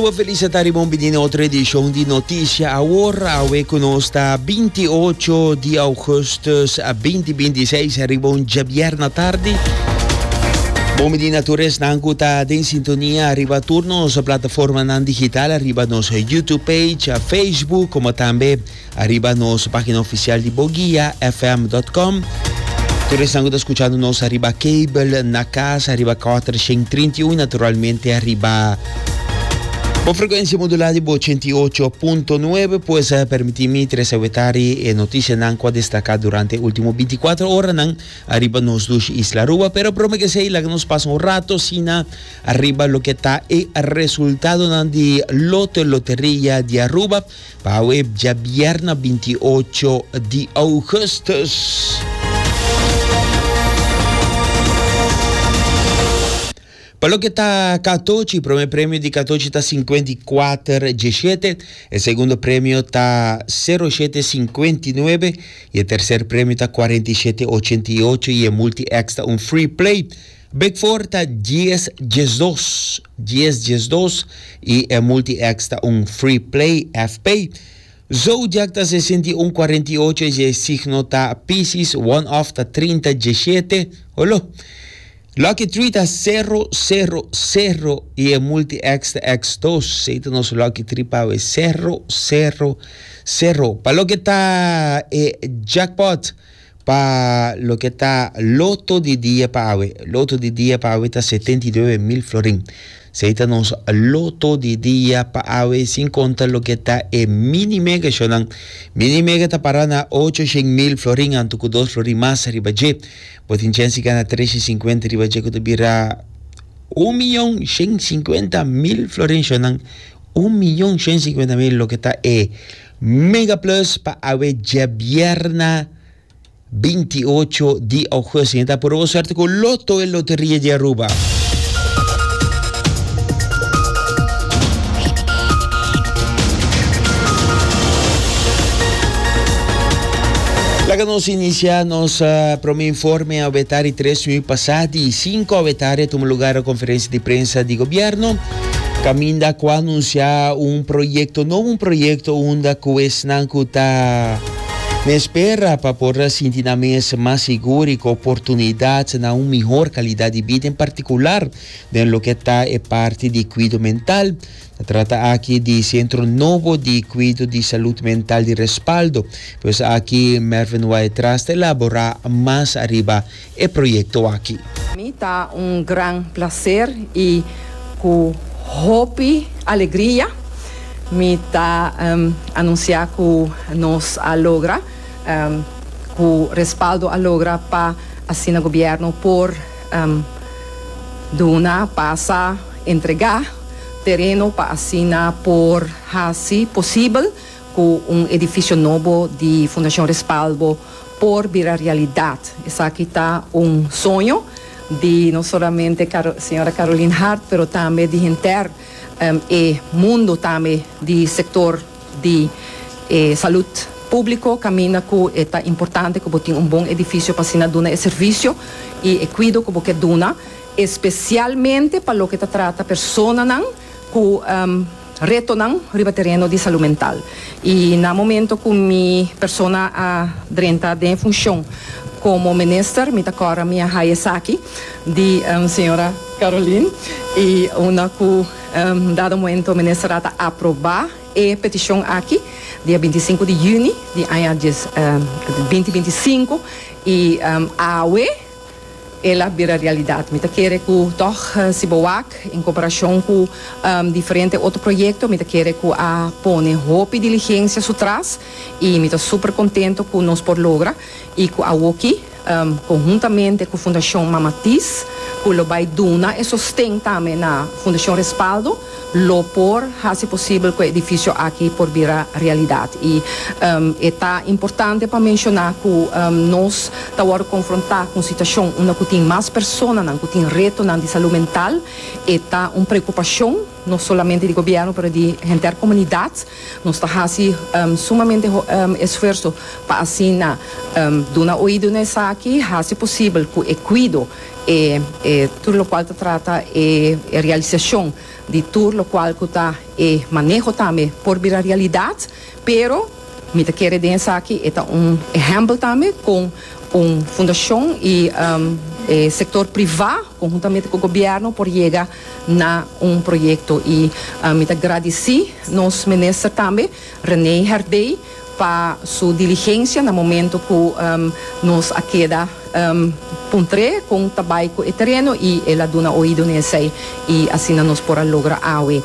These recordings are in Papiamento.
Aruba felis a ta riba un bini na otro edicion di Noticia Awor. Awe cu nos ta 28 di augustus 2026 ariba un djabierna tardi. Bon bini na tur esnan cu ta den sintonia ariba tur nos plataformanan digital, ariba nos YouTube page, Facebook, como tambe Ariba nos pagina oficial di boguiafm.com. Tur esnan ku ta skuchando nos ariba cable na kas, ariba 431, naturalmente ariba bo frekuensia modulá di bo 88.9, pues eh, permití mi trese wetari e notisianan ku a destaká durante e último 24 oranan ariba nos dushi isla Aruba. Pero prome ke esei, laga nos pasa un rato asina ariba loke ta e resultadonan di Loto Loteria di Aruba. Pawe djabierna 28 di augustus. Pa loke ta Katochi, prome premio di Katochi ta 54 17, e segundo premio ta 07 59 y e tercer premio ta 47 88 y e multi X ta un free play. Big Four ta dies 12, dies 12 y e Multi X ta un Free Play, FP. Zodiac ta 61 48 y e signo ta Pisces, One Off ta 30 17, holo. Lucky Three ta 0 0 0 y e Multi X ta X2, esey ta nos Lucky Three pa awe, 0 0 0. Pa loke ta e jackpot. Pa loke ta loto di dia pa awe, loto di dia pa awe ta 79 mil florin. Esei ta nos loto di dia pa awe sin konta loke ta e mini mega shownan. Mini mega ta para na 800 mil florin anto ku dos florin mas riba dje. Bo tin chèns di gana 350 riba dje ku ta bira 1.150.000 florin shownan. 1.150.000 loke ta e Mega Plus pa awe djabièrna 28 di augustus. Ta puro bo suerte ku Lotto e Loteria di Aruba. Laga nos inicia nos uh, prome informe awe tari 3 minuut pasá di 5 awe tari a tuma lugar a conferencia di prensa di gobierno. Caminda cu a anuncia un proyecto nobo, un proyecto unda cu esnan cu ta na espera pa por sinti nan mes mas sigur y cu oportunidad na un mihor calidad di bida, en particular den loke ta e parti di cuido mental. Ta trata aki di centro nobo di cuido di salud mental di Respaldo. Pues aki Mervin Wyatt-Ras ta elabora mas ariba e proyekto aki. Mi ta un gran placer y cu hopi alegria mi ta anuncia cu nos a logra, cu Respaldo a logra pa asina Gobierno por duna, pasa, entrega tereno pa asina por haci posibel cu un edificio nobo di Fundacion Respaldo por bira realidad. Esaki ta un soño di no solamente señora Caroline Hart, pero tambe di henter e mundo tambe di sector di e salud publico, caminda cu e ta importante cu bo tin un bon edificio pa asina duna e servicio y e cuido cu bo ke duna, especialmente pa loke ta trata personanan cu retonan riba tereno di salud mental. Y na momento cu mi persona a drenta den funcion como minister, mi ta cora mi a haya esaki di señora Caroline y unda cu dado momento minister a ta aproba e peticion aki dia 25 di juni di aña 2025 y awe El a bira realidat. Mi ta kere ku tòg si bo wak en komparashon ku diferente otro proyekto, mi ta kere ku a pone hopi diligensia su tras i mi ta super kontento ku nos por logra i ku awoki konhuntamente ku Fundashon Mama Tis ku lo bai duna e sosten tambe na Fundashon Respaldo, lo por hasi posibel ku e edifisio aki por bira realidat. I e ta importante pa menshoná ku nos ta wòrdu konfrontá ku un situashon unda ku tin mas personanan ku tin retonan di salú mental. E ta un preokupashon no solamente di gobièrnu pero di henter komunidat. Nos ta hasi sumamente esfuerso pa asina duna oido na esaki, hasi posibel ku e kuido, e. e tur locual ta trata e realisacion di tur locual cu ta e maneho tambe por bira realidad, pero mi ta kere den esaki e ta un ehempel tambe con un fundacion y e sector priva conhuntamente cu gobierno por yega na un proyecto y mi ta gradici nos minister tambe Rene Herdé pa su diligencia na momento cu nos a keda puntr'é con ta bay cu e tereno y el a duna oido na esey y asina nos por a logra awe.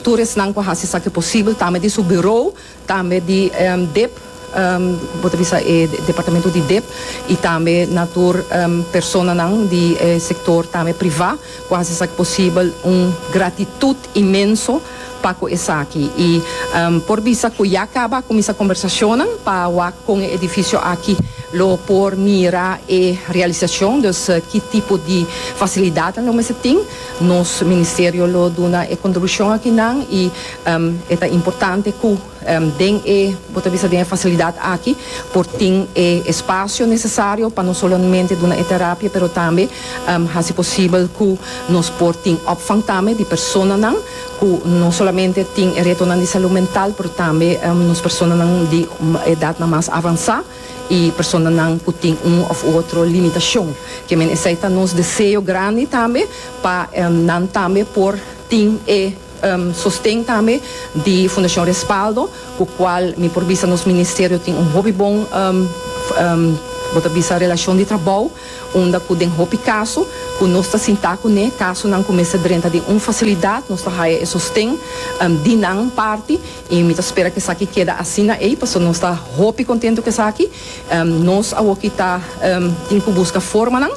Tur esnan cu a haci esaki posibel tambe di su bureau, tambe di dip, bo ta bisa e departamento di dip y tambe na tur personanan di e sector tambe priva cu a haci esaki posibel un gratitud inmenso pa ku esaki i por bisa ku ya kaba a kuminsá kombersashonnan pa wak kon e edifisio aki lo por mira e realisashon, dus ki tipo di fasilidatnan lo mester tin. Nos ministerio lo duna e kontribushon akinan i e ta importante ku den e, bo ta bisa den e fasilidat aki por tin e espasio nesesario pa no solamente duna e terapia pero tambe hasi posibel ku nos por tin opvang tambe di personanan ku no solamente tin e retonan di salú mental pero tambe nos personanan di edatnan mas avansá i personanan ku tin un òf otro limitashon. Ke men esei ta nos deseo grandi tambe pa nan tambe por tin e sosten tambe di Fundashon Respaldo ku kual mi por bisa nos ministerio tin un hopi bon bo ta bisa relashon di trabou. Unda ku den hopi kaso ku nos ta sintá kuné, kasonan ku mester drenta den un fasilidat, nos ta haya e sosten di nan parti i mi ta spera ku esaki keda asina ei pasobra nos ta hopi kontentu ku esaki. Nos awoki ta tin ku buska formanan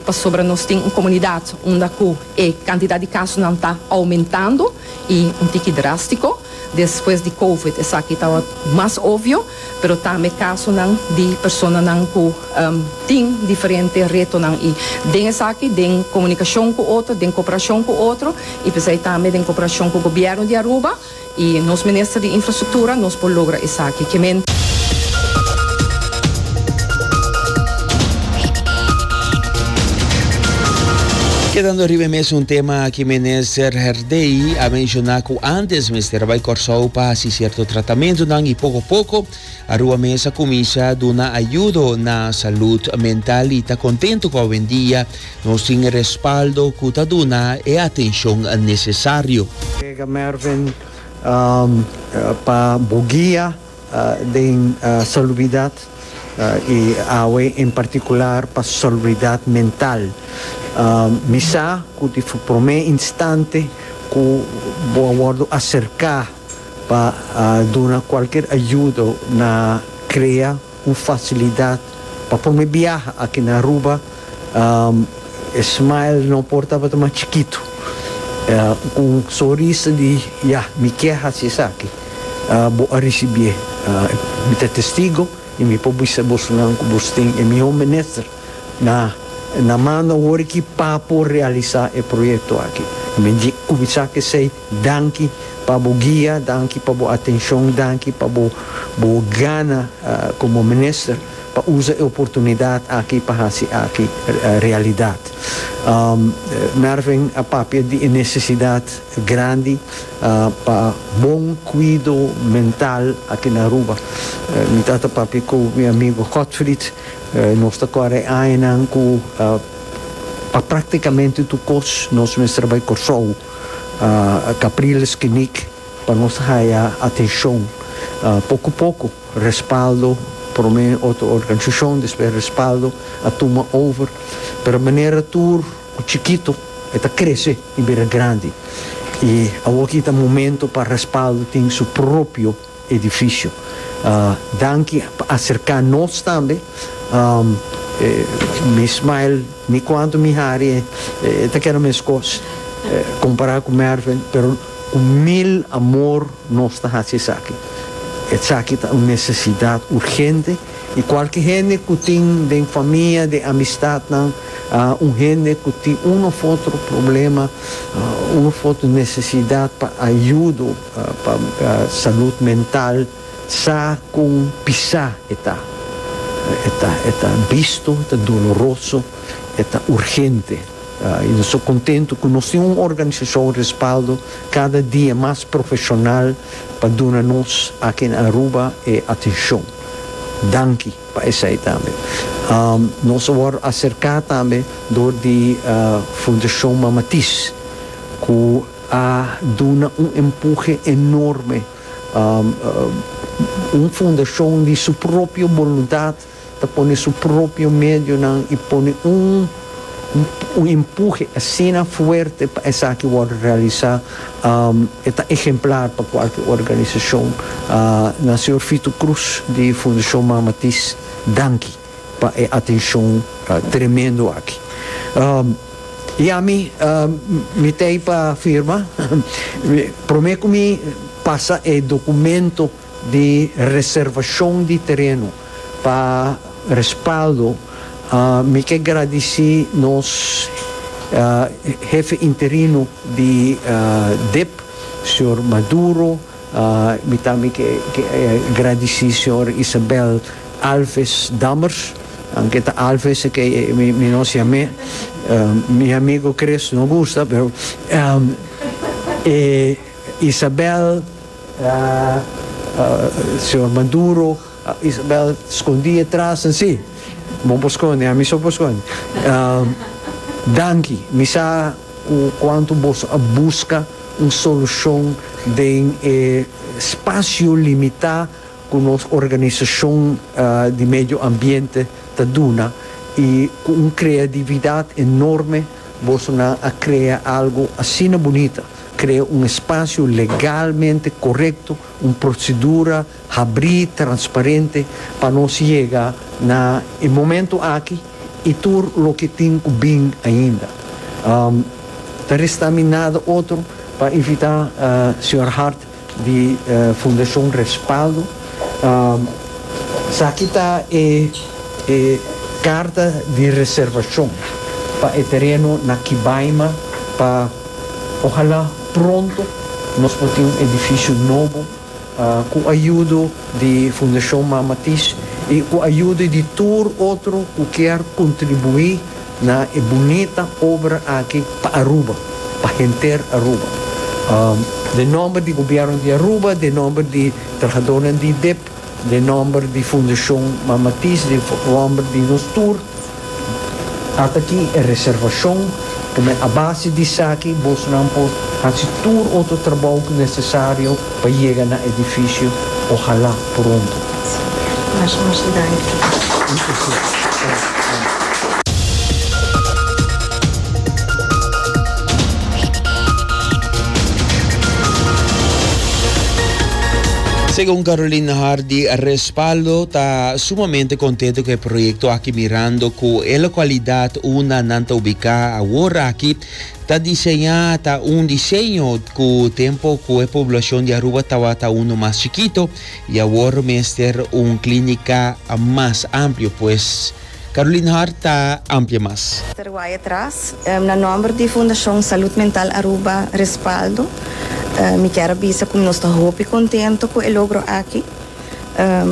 pasobra nos tin un komunidat unda ku e kantidat di kasonan ta oumentando i un tiki drástiko. Despues di covid esaki tabata mas obvio, pero tambe kasonan di personanan ku tin diferente retonan i den esaki den komunikashon ku otro, den koperashon ku otro i p'esei tambe den koperashon ku gobièrnu di Aruba i nos minister di infrastruktura nos por logra esaki. Ke men. Kedando riba e mesun tema aki Minister Herdey a menciona cu antes mester a bay Corsou pa haci cierto tratamentonan y poco poco Aruba mes a cuminsa duna ayudo na salud mental y ta contento cu awendia nos tin e respaldo cu ta duna e atencion necesario. Colega Mervin pa bo guia den salubridad y awe en particular pa salubridad mental. Mi sa cu di prome instante cu bo a wordo acerca pa duna cualkier ayudo na crea un facilidad pa prome biaha aki na Aruba, e smile no por tabata mas chikito. Cu un sonrisa di ya, mi kier haci esaki, bo a ricibié. Mi ta testigo y mi por bisa bosonan cu bos tin e miho minister na na manda awor aki pa por realisa e proyecto aki. Mi di cuminsa cu esey, danki pa bo guia, danki pa bo atencion, danki pa bo bo gana como minister pa usa e oportunidad aki pa haci aki realidad. Mervin a papia di e necesidad grandi pa bon cuido mental aki na Aruba. Mi tata papia cu mi amigo Godfried. Nos ta kòrda e añanan ku pa praktikamente tur kos nos mester bai Kòrsou, Capriles Kliniek, pa nos haya atenshon. Poko poko Respaldo, promé otro organisashon, despues Respaldo a tuma over. Pero manera tur ku chikito e ta krese i bira grandi. I awoki ta momento pa Respaldo tin su propio. Edificio. Danki pa acerca nos tambe. Mi smile ni cuanto mi hari e ta keda mescos compara cu Mervin pero cu mil amor nos ta haci esaki. Esaki ta un necesidad urgente y cualke hende cu tin den famia, den amistadnan un hende cu tin un of otro problema, un of otro necesidad pa ayudo. Pa salud mental sa con pisa e ta. E ta e ta bisto, e ta doloroso, e ta urgente. I nos ta kontentu ku nos tin un organisashon respaldo kada dia mas profeshonal pa duna nos aki na Aruba e atenshon. Danki pa esei tambe. Nos a wòrdu aserká tambe dor di Fundashon Mama Tis ku a duna un empuhe enorme. Un fundashon di su propio boluntat ta pone su propio medionan i pone un un empuhe asina fuerte pa esaki wòrdu realisá. E ta ehemplar pa kualke organisashon. Na señor Fito Cruz di Fundashon Mama Tis, danki pa e atenshon tremendo aki. I ami, mi t'ei pa firma. Promé ku mi pasa e dokumento di reservashon di tereno pa respaldo, mi ke gradisí nos hefe interino di dip, señor Maduro. Mi tambe ke gradisí señor Isabel Alves Dammers, aunke ta Alves ke mi no siam'é, mi amigo Chris no gusta, pero e Isabel, señor Maduro, Isabel skondí atras, sí, bo por skonde, ami so por skonde. Danki, mi sa ku kuantu boso a buska un solushon den e spasio limitá ku nos organisashon di medio ambiente ta duna i ku un kreatividat enorme bosonan a krea algu asina bunita, krea un espasio legalmente korekto, un prosedura habrí, transparente pa nos yega na e momento aki i tur loke tin ku bin ainda. Ta resta mi nada otro pa invitá señor Hart di Fundashon Respaldo. Esaki ta e e karta di reservashon pa e tereno na Kibaima pa ojalá pronto nos por tin un edifisio nobo ku ayudo di Fundashon Mama Tis i ku ayudo di tur otro ku kier kontribuí na e bunita obra aki pa Aruba, pa henter Aruba. Den nomber di Gobierno di Aruba, den nomber di trahadornan di dip, den nomber di Fundacion Mama Tis, den nomber di nos tur, ata aki e reservacion cu men a base di esaki bosonan por haci tur otro trabou cu necesario pa yega na edificio, ojalá pronto. Masha masha danki. Segun Carolina Hardy, Respaldo ta sumamente contento cu e proyecto aki mirando cu e localidad unda nan ta ubica awor aki Ta diseñá ta un diseño cu tempo cu e poblacion di Aruba tawata uno mas chikito y awor mester un clinica mas amplio, pues Caroline Hart ta amplia mas. Mister Wyatt-Ras, Na nomber di Fundacion Salud Mental Aruba Respaldo, mi kier a bisa cu nos ta hopi contento cu e logro aki.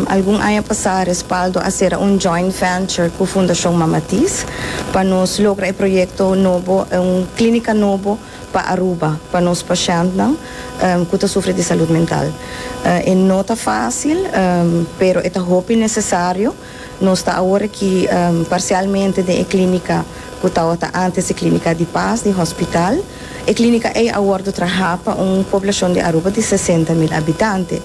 Algun aña pasá Respaldo a sera un joint venture ku Fundashon Mama Tis pa nos logra e proyekto nobo, un klínika nobo pa Aruba, pa nos pashèntnan ku ta sufri di salud mental. E no ta fásil, pero e ta hopi nesesario. Nos ta awor aki parsialmente den e klínika ku tabata ántes e klínika di Paz di hospital. E klínika ei a wòrdu trahá pa un poblashon di Aruba di 60.000 habitante.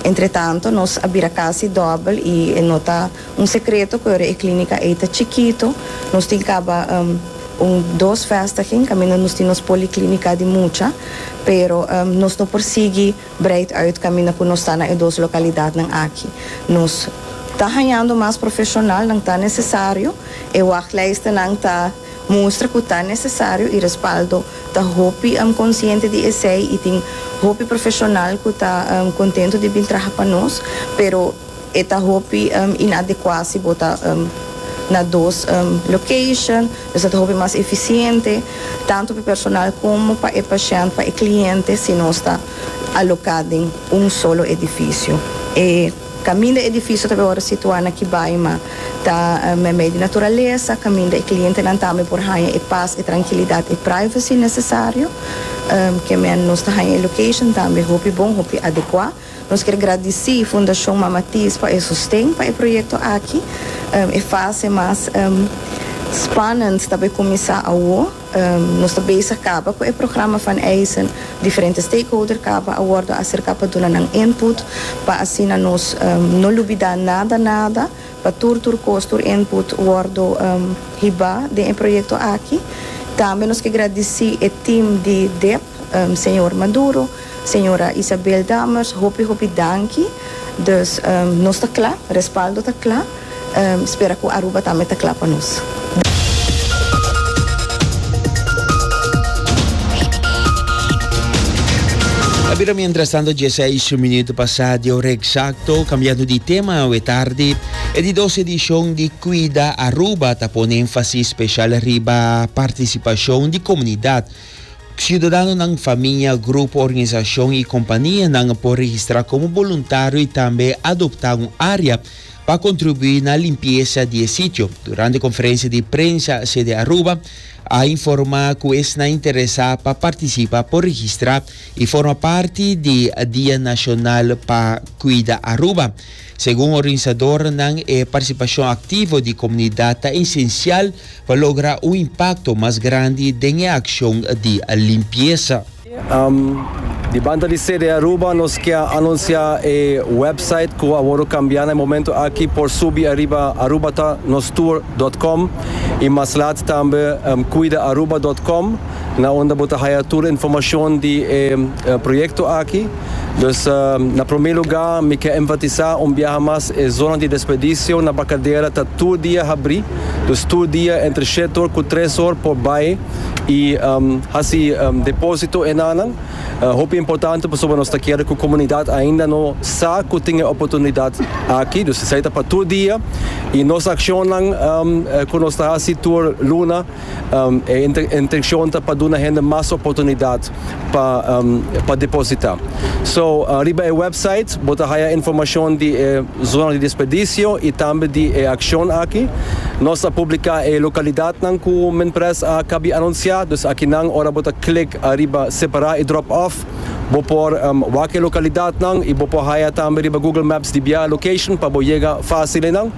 Entretanto nos a bira casi dobel y e no ta un secreto cu ora e clinica ey ta chikito. Nos tin caba un dos vestiging caminda nos tin nos policlinica di mucha, pero nos no por sigui breid uit caminda cu nos ta na e dos localidadnan aki. Nos ta hañando mas profesionalnan ta necesario, e wachtlijstennan ta. Mustra ku ta nesesario i Respaldo ta hopi konsiente di esei i tin hopi profeshonal ku ta kontentu di bin traha pa nos, pero e ta hopi inadekuá si bo ta na dos location, dus ta hopi mas efisiente tantu pa e personal komo pa e pashènt, pa e kliente si nos ta aloká den un solo edifisio. E. Kaminda e edifisio ta wòrdu situá na Kibaima ta meimei di naturalesa, kaminda e klientenan tambe por haña e pas, e trankilidat, e privacy nesesario. Ke men nos ta haña e location tambe hopi bon, hopi adekuá. Nos kier gradisí Fundashon Mama Tis pa e sosten pa e proyekto aki. E fase mas spannend ta bai kuminsá awo. Nos ta bezig kaba ku e programa van eisen. Diferente stakeholder kaba a wòrdu aserká pa duna nan input pa asina nos no lubidá nada nada, pa tur tur kos, tur input wòrdu hibá den e proyekto aki. Tambe nos ke gradisí e team di dip, señor Maduro, señora Isabel Dammers, hopi hopi danki. Dus nos ta kla, Respaldo ta kla. Spera ku Aruba tambe ta kla pa nos. A bira mientrastanto dieseis minuto pasá di ora eksakto. Kambiando di tema awe tardi, e di dos edishon di Kuida Aruba ta pone énfasis speshal riba partisipashon di komunidat. Siudadanonan, famia, grupo, organisashon i kompanianan por registrá komo boluntario i tambe adoptá un área pa kontribuí na limpiesa di e sitio. Durante konferensia di prensa sede Aruba a informá ku esnan interesá pa partisipá por registrá i forma parti di Dia Nashonal pa Kuida Aruba. Segun organisadornan e partisipashon aktivo di komunidat ta esensial pa logra un impakto mas grandi den e akshon di limpiesa. Di banda di CD Aruba nos ke a anuncia e website cu a wordo cambia na e momento aki por subi ariba arubatanostour dot com y mas laat tambe cuidaaruba dot com na unda bo ta haya tur informacion di e proyecto aki. Dus na prome lugar mi ke enfatisa un biaha mas e zona di desperdicio na Barcadera ta tur dia habri, dus tur dia entre shete or cu tres or por bay y haci deposito enanan. Hopi importante pasobra nos ta kere cu comunidad ainda no sa cu tin e oportunidad aki, dus esey ta pa tur dia y nos accionnan cu nos ta haci tur luna e intencion ta pa duna hende mas oportunidad pa pa deposita. So riba e website bo ta haya informacion di e zona di desperdicio y tambe di e accion aki. Nos a publica e localidadnan cu Minpres a cabi anuncia, dus akinan ora bo ta click ariba separa y drop off bo por wak e localidadnan y bo por haya tambe riba Google Maps di bia location pa bo yega facil eynan.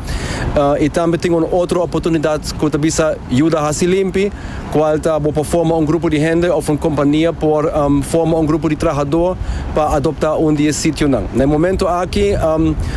Y tambe tin un otro oportunidad cu ta bisa yuda haci limpi. Cual ta bo por forma un grupo di hende of un compania por forma un grupo di trahador pa adopta un di e sitionan. Na e momento aki,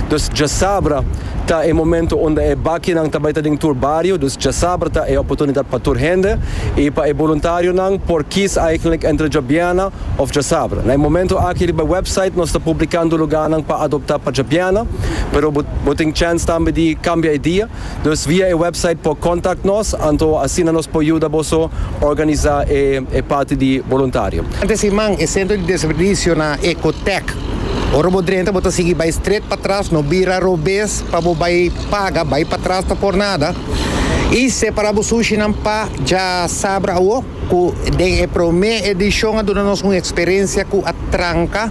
dus djasabra ta e momento unda e bakinan ta bay ta den tur bario, dus djasabra ta e oportunidad pa tur hende y pa e boluntarionan por kies eigenlijk entre djabiana of djasabra. Na e momento aki riba e website nos ta publicando lugarnan pa adopta pa djabiana, pero bo tin chance tambe di cambia e dia. Dus via e website por contact nos, anto asina nos por yuda boso organisa e e parti di boluntario. Durante siman e sentro di desperdicio na Ecotec. Ora bo drenta bo ta sigui bai stret patras, no bira robes pa bo bai paga, bai patras ta por nada. Y separa bo sushinan pa djasabra awo cu den e prome edicion a duna nos un experiencia cu a tranca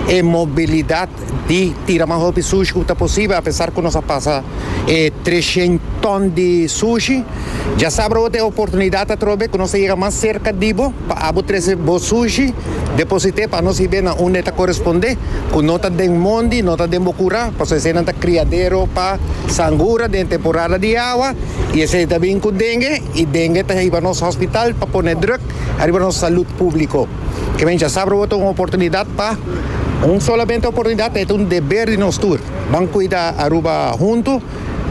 e mobilidad di tira mas hopi sushi ku ta posibel apesar ku nos a pasa e treshen ton di sushi. Djasabra bo ta e oportunidat atrobe ku nos ta yega mas serka di bo pa abo trese bo sushi, deposit'é pa nos hib'é na unda e ta korespondé, ku no ta den mondi, no ta den bo kurá, pasobra eseinan ta kriadero pa sangura den temporada di awa i esei ta bin ku dengue i dengue ta hiba nos hospital pa pone druk ariba nos salud públiko. Ke men djasabra bo ta un oportunidat pa. Un solamente oportunidad e ta un deber di nos tur. Ban cuida Aruba hunto.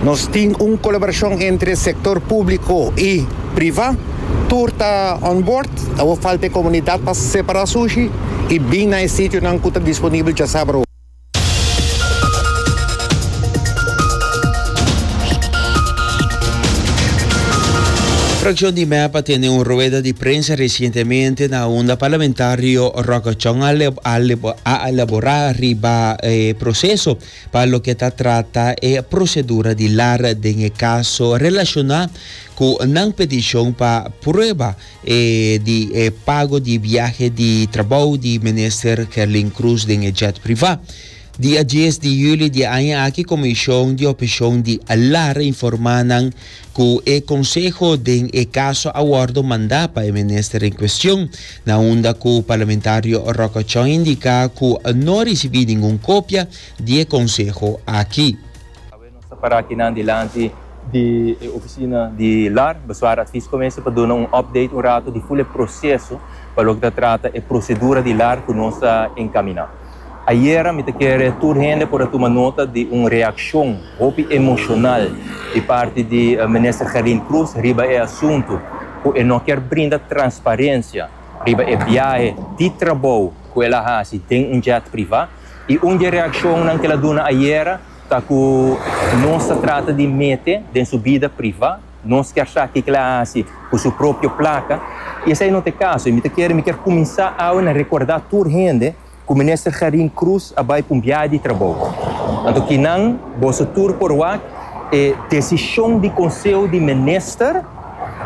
Nos tin un colaboracion entre sector publico y priva. Tur ta on board. Awor falta e comunidad pa separa sushi y bin na e sitionan cu ta disponibel djasabra. Fraccion di mep a tene un rueda di prensa recientemente na unda parlamentario Roque Chong a elabora riba e proceso pa loke ta trata e procedura di lar den e caso relaciona cu nan peticion pa prueba e di e pago di biahe di trabou di minister Gerlin Croes den e jet priva. Dia dies di juli di e aña aki Komishon di Opheshon di lar a informá nan ku e konseho den e kaso a wòrdu mandá pa e minister en kuestion, na unda ku parlamentario Rocco Chong indiká ku no a risibí ningun kopia di e konseho aki. Awe nos ta pará akinan dilanti di e ofisina di lar, Bezwaar Advies Commissie, pa duna un update un rato di ful e proseso pa loke ta trata e prosedura di lar ku nos ta enkaminá. Ayera mi ta kere tur hende por a tuma nota di un reakshon hopi emoshonal di parti di Minister Gerlin Cruz riba e asuntu ku e no kier brinda transparensia riba e biahe di trabou ku el a hasi den un jet priva. I un di e reakshonnan ku el a duna ayera ta ku nos ta trata di mete den su bida priva. Nos kier sa kiko el a hasi ku su propio plaka i esei no ta e kaso. I mi ta kere mi kier kuminsá awe na rekordá tur hende ku Minister Gerlin Cruz a bai pa un biahe di trabou. Anto kinan boso tur por wak e desishon di Konseho di Minister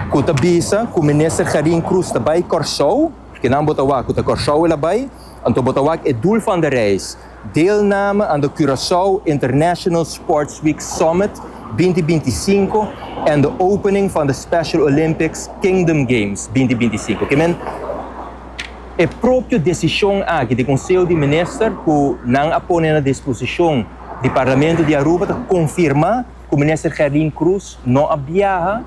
ku ta bisa ku Minister Gerlin Cruz ta bai Kòrsou, kinan bo ta wak ku ta Kòrsou el a bai, anto bo ta wak e doel van de reis. Deelname aan de Curaçao International Sports Week Summit 2025 en de opening van de Special Olympics Kingdom Games 2025. Ke men e propio desishon aki di Konseho di Minister ku nan a pone na disposishon di Parlamento di Aruba ta konfirmá ku Minister Gerlin Cruz no a biaha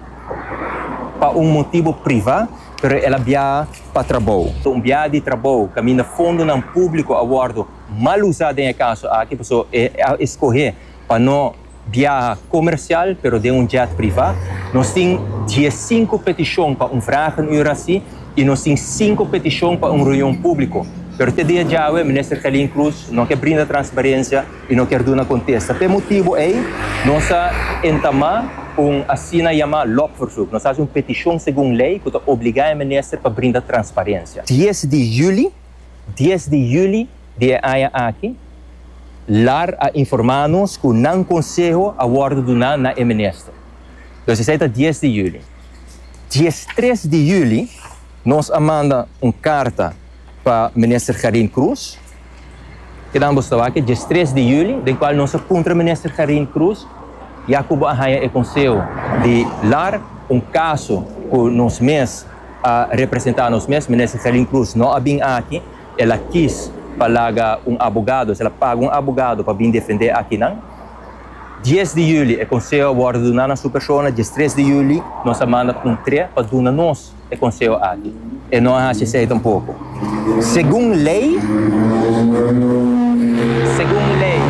pa un motibo privá, pero el a biaha pa trabou. Un biaha di trabou kaminda fondonan públiko a wòrdu mal usá den e kaso aki, pasobra e a eskohé pa no biaha komersial pero den un jet privá. Nos tin diesinku petishon pa un vragenuur hasi i nos tin sinku petishon pa un reunion públiko. Pero te dia djawe Minister Gerlin Cruz no ke brinda transparensia i no kier duna kontesta. P'e motibu ei nos a entamá un asina yamá lobverzoek. Nos a hasi un petishon segun lei ku ta obligá e minister pa brinda transparensia. Dies di juli, dies di juli di e aña aki, lar a informá nos ku nan konseho a wòrdu duná na e minister. Dus esei ta dies di juli. Diestres di juli nos a manda un karta pa minister Gerlin Cruz. Kinan bo sta wak e diestres di juli den cual nos a puntra Minister Gerlin Cruz ya cu bo a haya e conseho di lar un caso cu nos mes a representa nos mes. Minister Gerlin Cruz no a bin aki, el a kies pa laga un abogado, el a paga un abogado pa bin defende akinan. Dies di juli e conseho a wordo duna na su persona, diestres di juli nos a manda puntre pa duna nos. E konseho aki. E no a hasi esei tampoko. Segun lei, segun lei,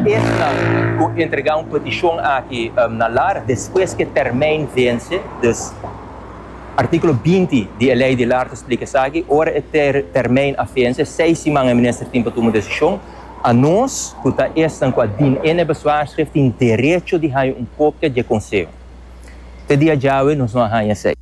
esnan ku entregá un petishon aki na lar despues ku e termijn vense, dus artíkulo 20 di e lei di lar ta splika esaki, ora e termijn a vense, seis siman e minister tin pa tuma un desishon. Anos ku ta esnan ku a dien in e bezwaarschrift tin derecho di haña un kopia di e konseho. Te dia djawe nos no a haña esei.